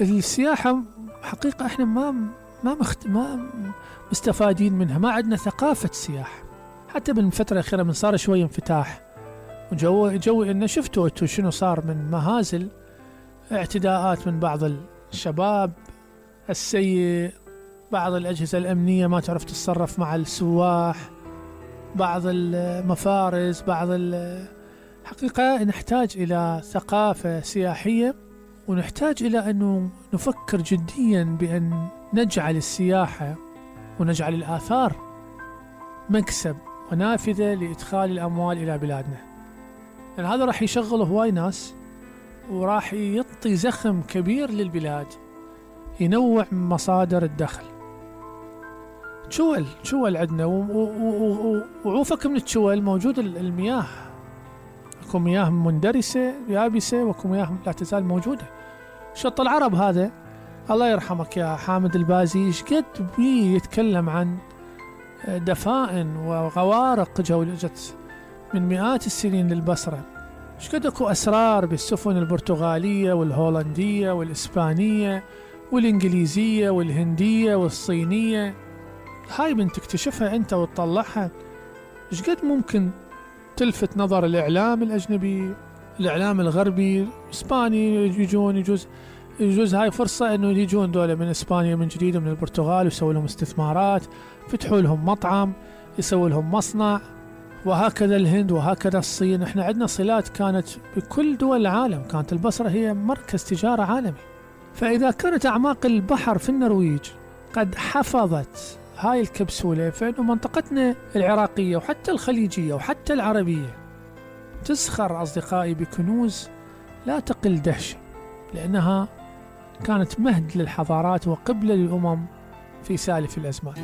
السياحة حقيقة احنا ما مستفادين منها، ما عندنا ثقافة سياحة. حتى بالفترة الأخيرة من صار شوي انفتاح وجوي انه شفتوا انتو شنو صار من مهازل، اعتداءات من بعض الشباب السيء، بعض الأجهزة الأمنية ما تعرف تتصرف مع السواح، بعض المفارز، حقيقة نحتاج إلى ثقافة سياحية، ونحتاج إلى أنه نفكر جديا بأن نجعل السياحة ونجعل الآثار مكسب ونافذة لإدخال الأموال إلى بلادنا، لأن هذا راح يشغل هواي ناس وراح يعطي زخم كبير للبلاد، ينوع من مصادر الدخل. تشول عندنا وعوفك من التشول موجود المياه، اكو مياه مندرسة يابسة واكو مياه لا تزال موجودة. شط العرب هذا الله يرحمك يا حامد البازي ايش قد بيه يتكلم عن دفائن وغوارق جت من مئات السنين للبصرة، ايش قد اكو اسرار بالسفن البرتغالية والهولندية والاسبانية والانجليزية والهندية والصينية. هاي من تكتشفها انت وتطلعها ايش قد ممكن تلفت نظر الاعلام الاجنبي، الاعلام الغربي، اسباني يجون يجوز هاي فرصة انه يجون دولة من اسبانيا من جديد ومن البرتغال ويسوي لهم استثمارات، فتحوا لهم مطعم، يسوي لهم مصنع، وهكذا الهند وهكذا الصين. احنا عندنا صلات كانت بكل دول العالم، كانت البصرة هي مركز تجارة عالمي. فإذا كانت أعماق البحر في النرويج قد حفظت هاي الكبسولة، فإنه منطقتنا العراقية وحتى الخليجية وحتى العربية تزخر أصدقائي بكنوز لا تقل دهشة، لأنها كانت مهد للحضارات وقبلة للأمم في سالف الأزمان.